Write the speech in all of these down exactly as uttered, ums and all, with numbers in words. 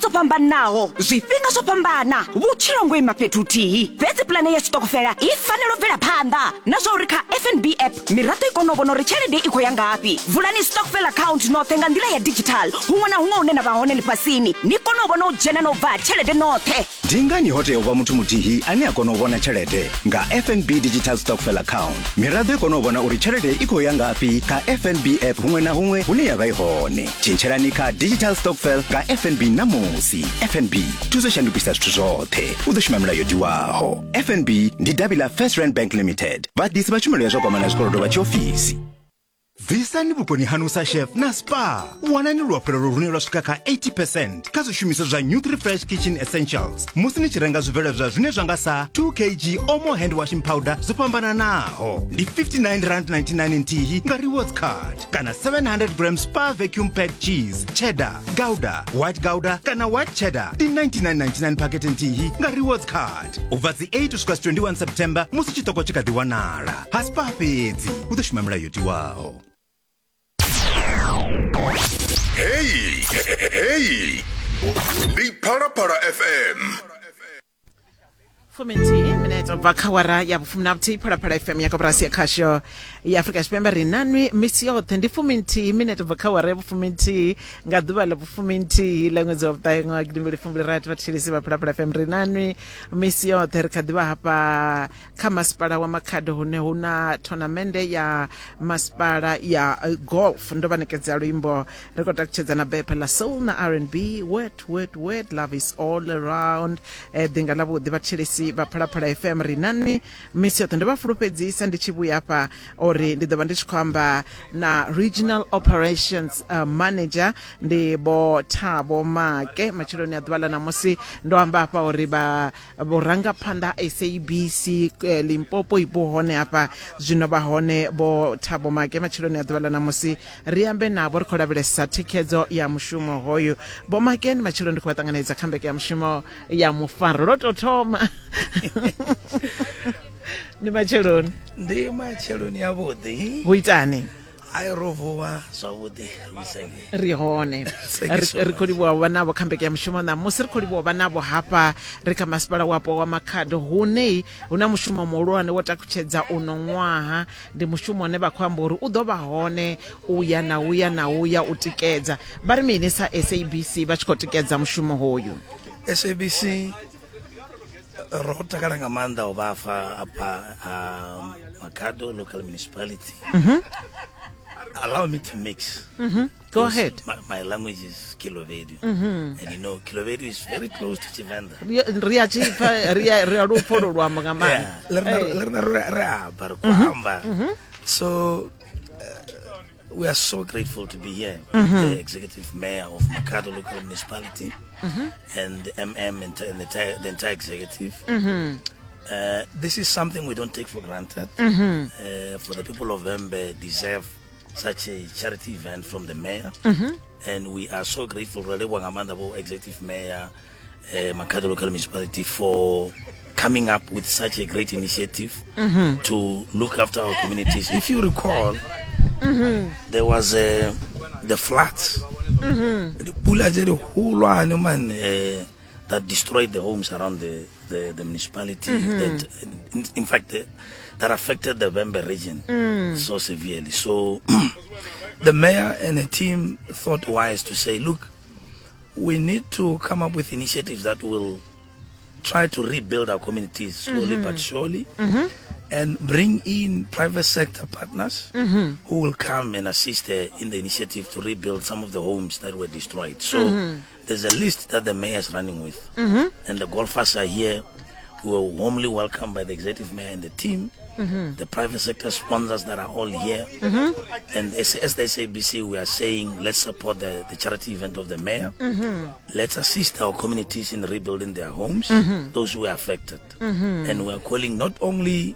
dzo fhambanaho, zwifhinga zwo fhambana, vhutshilo ngo ima fhethu huthihi. Fhedzi pulane ya tshiṱokofela i fanela u bvela phanḓa na zwa uri kha F N B app miraḓo i kone u vhona uri tshelede i khou ya ngafhi. Vulani stokvel account noṱhe nga nḓila ya digital huṅwe na huṅwe hune na vha hone ḽifhasini, ni kone u vhona u dzhena na u bva tshelede noṱhe. Ndi ngani ho tea u vha muthu muthihi ane a kona u vhona tshelede? Nga F N B Digital Stokvel Account, miraḓo i kona u vhona uri tshelede i khou ya ngafhi kha F N B app huṅwe na huṅwe hune ya vha i hone. Tshintshelani kha Digital Stokvel nga F N B ṋamusi. F N B, thuso shandukisa zwithu zwoṱhe. U ḓo shuma milayo diwaho. F N B ndi davhi ḽa First Rand Bank Limited. Vhaḓisi vha tshumelo ya zwa kwamana zwikolodo vha tshiofisi. Bvisani vhukoni haṋu sa chef na spa. Wanani luafhulelo lune lwa swika kha eighty percent kha zwishumiswa zwa Nutri-Fresh Kitchen Essentials musi ni tshi renga zwibveledzwa zwine zwa nga sa two kilograms Omo hand washing powder zwo fhambananaho ndi fifty-nine rand ninety-nine nthihi nga rewards card kana seven hundred grams Spa vacuum packed cheese cheddar, gouda, white gouda kana white cheddar ndi ninety-nine ninety-nine packet nthihi nga rewards card. U bva dzi eight u swika twenty-one September musi tshiṱoko tshi kha ḓi wanala. Ha Spa fhedzi u ḓo shuma milayo yo tiwaho. Hey, hey, ndi Phalaphala F M. Fuminthihi minete ubva kha awara ya vhufumi na vhuthihi Phalaphala F M ya koporasi ya khasho ya Afrika Tshipembe. Ri nanwi misi yoṱhe ndi fuminthihi minete ubva kha awara ya vhufuminthihi nga ḓuvha ḽa vhufuminthihi ḽa ṅwedzi wa vhuṱahe ṅwaha gidi mbili fumbili rathi. Vhathetshelesi vha Phalaphala F M ri nanwi misi yoṱhe. Ri kha ḓivha hafha kha masipala wa Makhado hune hu na thonamende ya masipala ya golf. Ndo vha ṋekedza luimbo ri khou takutshedza na bepha ḽa soul na R and B, word word word, love is all around. Ḓinga ḽa vhuḓi vhathetshelesi vha Phalaphala F M ri nani misi yoṱhe. Ndo vha fulufhedzisa ndi tshi vhuya hafha uri ndi ḓo vha ndi tshi khou amba na Regional Operations uh, Manager ndi Vho Thabo Make matsheloni a ḓuvha ḽa ṋamusi. Ndo amba hafha uri vha vhurangaphanḓa S A B C eh, Limpopo ipo hone hafha zwino vha hone Vho Thabo Make matsheloni a ḓuvha ḽa ṋamusi. Ri ambe navho ri khou lavhelesa thikhedzo ya mushumo hoyu. Vho Make ndi matsheloni ndi khou vha ṱanganedza kha mbeke ya mushumo ya mufaro lwo tou thoma. Ndi matsheloni. Ndi matsheloni ya vhuḓi. Hu itani? Ai ro vuwa zwavhuḓi. Ri hone. Ri khou livhuwa vha navho kha mbeke ya mushumo ṋamusi. Ri khou livhuwa vha navho hafha ri kha masipala wapo wa Makhado hune hu na mushumo muhulwane wo takutshedza uno ṅwaha. Ndi mushumo une vha khou amba uri u ḓo vha hone u ya na uya na uya u tikedza. Vha ri mini sa S A B C vha tshi khou tikedza mushumo hoyu? S A B C ro takala nga maanḓa u vha afha afha Makhado local municipality. Mm-hmm. Allow me to mix. Mm-hmm. Go ahead. My, my language is Khelobedu. Mm-hmm. And you know, Khelobedu is very close to Tshivenda. Ri a tshipfa, ri a ri a lupfo lwo amba nga maanḓa. Yeah. So uh, we are so grateful to be here. Mm-hmm. The executive mayor of Makhado local municipality, mm-hmm. and the M M and the entire, the entire executive. Mm-hmm. Uh, this is something we don't take for granted. Mm-hmm. Uh, for the people of Vhembe deserve such a charity event from the mayor. Mm-hmm. And we are so grateful, Rele executive mayor, uh, Makhado local municipality, for coming up with such a great initiative, mm-hmm. to look after our communities. If you recall, mm-hmm. there was uh, the floods, mm-hmm. uh, that destroyed the homes around the, the, the municipality. Mm-hmm. That, in, in fact, the, that affected the Vhembe region mm. so severely. So the mayor and the team thought wise to say, look, we need to come up with initiatives that will try to rebuild our communities slowly mm-hmm. but surely, mm-hmm. and bring in private sector partners mm-hmm. who will come and assist uh, in the initiative to rebuild some of the homes that were destroyed. So mm-hmm. there's a list that the mayor is running with, mm-hmm. and the golfers are here, who were warmly welcomed by the executive mayor and the team, mm-hmm. the private sector sponsors that are all here. Mm-hmm. And as, as the S A B C, we are saying, let's support the, the charity event of the mayor. Mm-hmm. Let's assist our communities in rebuilding their homes, mm-hmm. those who are affected. Mm-hmm. And we are calling not only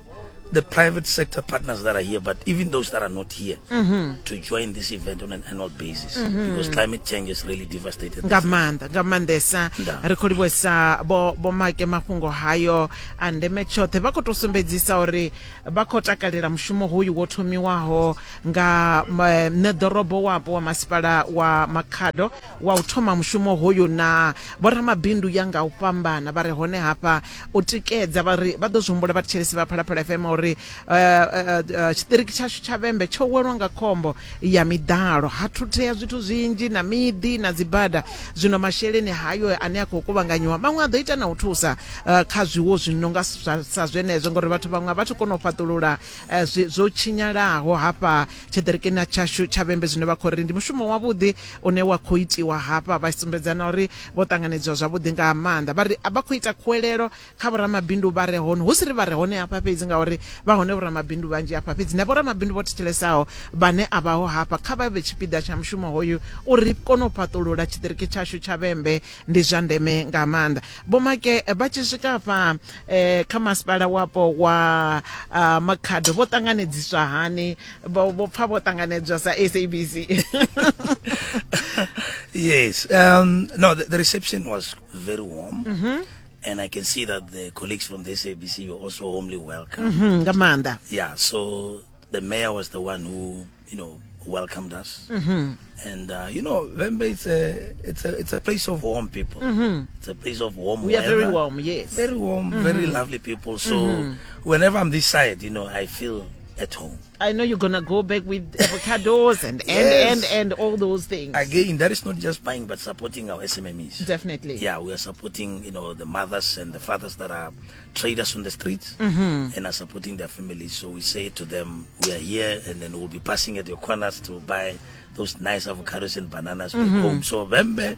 the private sector partners that are here, but even those that are not here, Mm-hmm. to join this event on an annual basis, because climate change has really devastated. Nga this. maanḓa, nga maanḓesa. Nda. Ri khou livhuwesa vho Vho Make, mafhungo hayo a ndeme tshoṱhe. Vha khou tou sumbedzisa uri vha khou takalela mushumo hoyu wo thomiwaho nga eh, ṋeḓorobo wapo wa masipala wa Makhado wa u thoma mushumo hoyu na vhoramabindu ya nga u fhambana vha re hone hafha u tikedza. Vha ri vha ḓo zwi humbula vhathetshelesi vha Phalaphala F M uri eh, eh, eh, tshiṱiriki tshashu tsha Vhembe tsho welwa nga khombo ya miḓalo, ha thuthea zwithu zwinzhi na miḓi na dzibada. Zwino masheleni hayo ane a khou kuvhanganyiwa maṅwe a ḓo ita na u thusa eh, kha zwiwo zwi no nga sa sa zwenezwo, ngori vhathu vhaṅwe a vha thu kona u fhaṱulula eh, zwi- zwo tshinyalaho hafha tshiṱirikini tshashu tsha Vhembe. Zwino vha khou ri ndi mushumo wavhuḓi une wa khou itiwa hafha, vha sumbedza na uri vho ṱanganedziwa zwavhuḓi nga maanḓa. Vha ri vha khou ita khuwelelo kha vhoramabindu vha re hone, hu si ri vha re hone hafha fhedzi, ngauri vha hone vhoramabindu vhanzhi hafha fhedzi, na vhoramabindu vho thetshelesa vhane a vhaho hafha kha vha vhe tshipiḓa tsha mushumo hoyu uri ri kone u fhaṱulula tshiṱiriki tshashu tsha Vhembe. Ndi zwa ndeme nga maanḓa. Vho Make, vha tshi swika hafha eh, kha masipala wapo wa uh, Makhado vho ṱanganedziswa hani? Vho vho pfa vho ṱanganedzwa sa S A B C? Yes. Um, no, the, the reception was very warm. Mm-hmm. And I can see that the colleagues from the S A B C were also warmly welcomed. Mhm, nga maanḓa. Yeah, so the mayor was the one who, you know, welcomed us. Mm-hmm. And, uh, you know, Vhembe, it's a, it's a, it's a place of warm people. It's a place of warm Mm-hmm. We are very weather. warm, yes. Very warm, very lovely people. So whenever I'm this side, you know, I feel at home. I know you're gonna go back with avocados and and, Yes. and and all those things. Again, that is not just buying, but supporting our S M M Es. Definitely. Yeah, we are supporting, you know, the mothers and the fathers that are traders on the streets Mm-hmm. and are supporting their families. So we say to them, we are here, and then we'll be passing at your corners to buy those nice avocados and bananas back Mm-hmm. home. So Vhembe,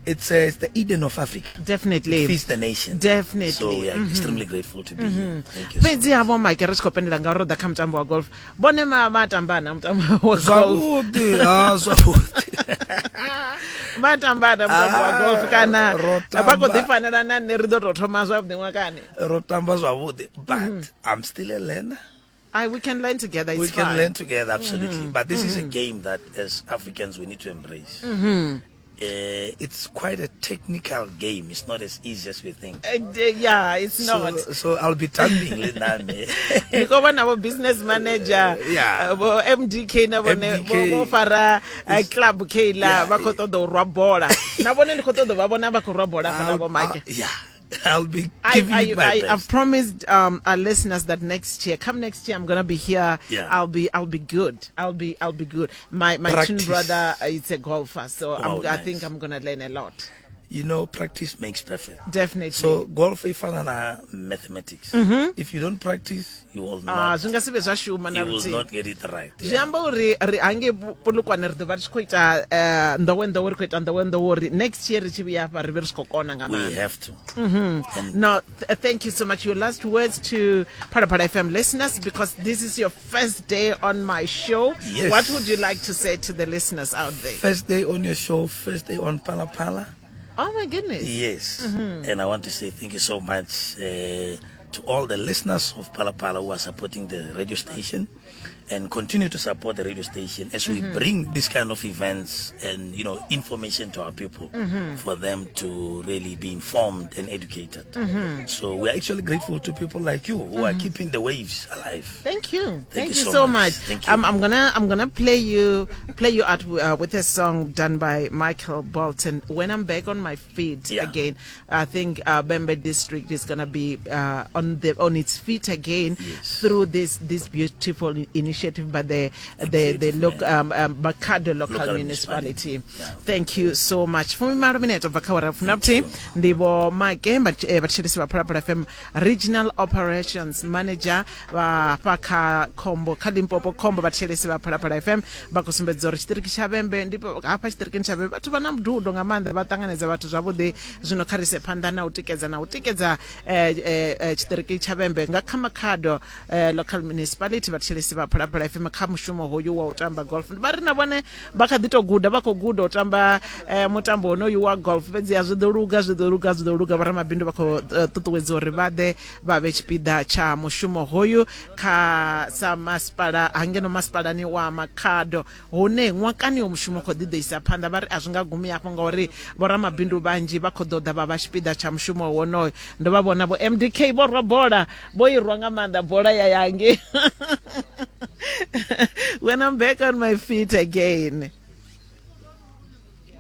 it's, uh, it's the Eden of Africa. Definitely. It feeds the nation. Definitely. So we are extremely grateful to be here. Thank you so Fhedzi havho Make, ri tshi khou pendela ngauri ro ḓa kha mutambo wa golf, vhone ma vha tamba na mutambo wa golf? Zwavhuḓi, ah, zwavhuḓi. Vha tamba na mutambo wa Ah, golf kana ro vha khou tamba. ḓi fanela na nṋe ri ḓo tou thoma zwavhuḓi ṅwakani? Ro tamba zwavhuḓi, but I'm still a learner. I, we can learn together, it's We can fine. learn together, absolutely. But this is a game that, as Africans, we need to embrace. Uh, it's quite a technical game. It's not as easy as we think. Uh, d- yeah it's not. So, so I'll be tambing le nami. Ndi khou vhona vho business manager, Yeah. uh, vho M D K na vhone M D K. vho vho fara uh, club Kayla, Yeah. vha khou ṱoḓa u rwa bola na vhone. Ndi khou ṱoḓa vha vhona vha khou rwa bola hafha na I'll, vho Make. I'll- yeah, I'll be I, giving I, it my I, best. I've promised um, our listeners that next year, come next year, I'm gonna be here. Yeah. I'll be, I'll be good. I'll be, I'll be good. My my twin Practice. brother uh, is a golfer, so I'm, Wow, I nice. think I'm gonna learn a lot. You know, practice makes perfect. Definitely. So golf e fana na mathematics. If you don't practice, you will Ah, not. Zwi nga si vhe zwa shuma na You will luthihi. not get it right. Zwi Yeah. amba uri ri hangei Polokwane ri ḓo vha ri tshi khou ita eh, nḓowenḓowe, ri khou ita nḓowenḓowe uri next year ri tshi vhuya hafha ri vhe ri tshi khou kona nga We maanḓa. have to. And No, th- thank you so much. Your last words to Phalaphala F M listeners, because this is your first day on my show. Yes. What would you like to say to the listeners out there? First day on your show, first day on Phala Phala. Oh my goodness. Yes. And I want to say thank you so much uh, to all the listeners of Phala Phala who are supporting the radio station and continue to support the radio station as we bring this kind of events and, you know, information to our people for them to really be informed and educated. So we are actually grateful to people like you who are keeping the waves alive. Thank you. Thank, you you so so much. much. Thank you. Um, I'm gonna I'm gonna play you play you out uh, with a song done by Michael Bolton. When I'm back on my feet Yeah. again, I think uh, Vhembe District is gonna be uh, on the on its feet again Yes. through this this beautiful initiative by the the the Executive loc, man. um, um, Makhado local, Local municipality. municipality. Yeah. Thank you so much. Fumimalo minete ubva kha awara ya vhufumi ndi vho Make, vhathetshelesi vha Phalaphala F M, Regional Operations Manager vha fha kha Khombo kha Limpopo Khombo. Vhathetshelesi vha Phalaphala F M vha khou sumbedza uri tshiṱiriki tsha Vhembe ndi hafha tshiṱirikini tsha Vhembe vhathu vha na mududo nga maanḓa, vha ṱanganedza vhathu zwavhuḓi. Zwino kha ri ise phanḓa na u tikedza na u tikedza eh, eh, eh, tshiṱiriki tsha Vhembe nga kha Makhado eh, local municipality. Vhathetshelesi vha Phalaphala Phalaphala F M kha mushumo hoyu wa u tamba golf. Vha ri na vhone vha kha ḓi tou guda, vha khou guda u tamba eh, mutambo wonoyu wa golf, fhedzi a zwi ḓo luga, zwi ḓo luga, zwi ḓo luga. Vhoramabindu vha khou eh, ṱuṱuwedza uri vha ḓe vha vhe tshipiḓa tsha mushumo hoyu kha sa masipala hangeno masipalani wa Makhado, hune ṅwakani wa mushumo khou ḓi ḓo isa phanḓa. Vha ri a zwi nga gumi hafho ngauri vhoramabindu vhanzhi vha khou ḓo ḓa vha vha tshipiḓa tsha mushumo wonoyo. Ndo vha vhona vho M D K vho rwa bola, vho i rwa nga maanḓa bola ya yange. When I'm back on my feet again.